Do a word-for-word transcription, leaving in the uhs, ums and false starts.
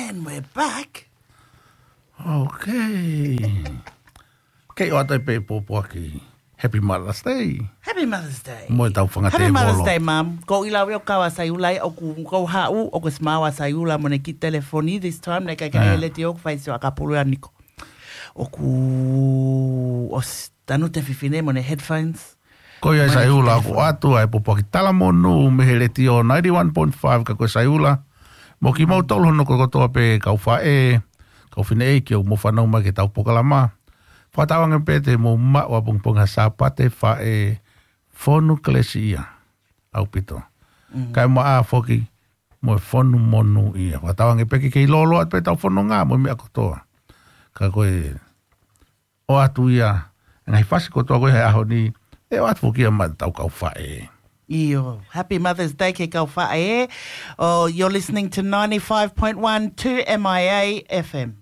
And we're back. Okay. Kei ʻoatu pē pōpoaki. Happy Mother's Day. Happy Mother's Day. Mo e tau fanga Happy Mother's tēvolo. Day, Mum. Ko ila veo kawa Saiula, ʻoku kau haʻu, ʻoku smile ʻa Saiula mo ne ki telefoni this time, ne kai kai Ah. le tio, fai sio akapulu aniko. ʻOku ʻosi tanu te fifine mo ne headphones. Ko ia Mo ne Saiula, ki ʻoku ʻoatu ai pōpoaki talamonū mei he Letiō ninety-one point five ka ko Saiula. Mo kimoutolu hono kotoa pē kau faʻē, kau fineʻeiki ʻoku mou fanongo mai ki he tau polokalama. Fakatauange pē te mou maʻu ʻapongipongi ha Sāpate faʻē fonu kelesi ia. ʻAupito. Kae maʻa foki mo e fonu monū ia. Fakatauange pē ke kei lōloa pē tau fononga mo e meʻa kotoa. Ka ko e ʻoatu ia, ngaahi fasi kotoa ko e he ʻaho ni, ʻe ʻoatu foki ia maʻa tau kau faʻē. ʻIo, happy Mother's Day ki he kau faʻē. Oh, you're listening to ninety-five point one two M I A F M.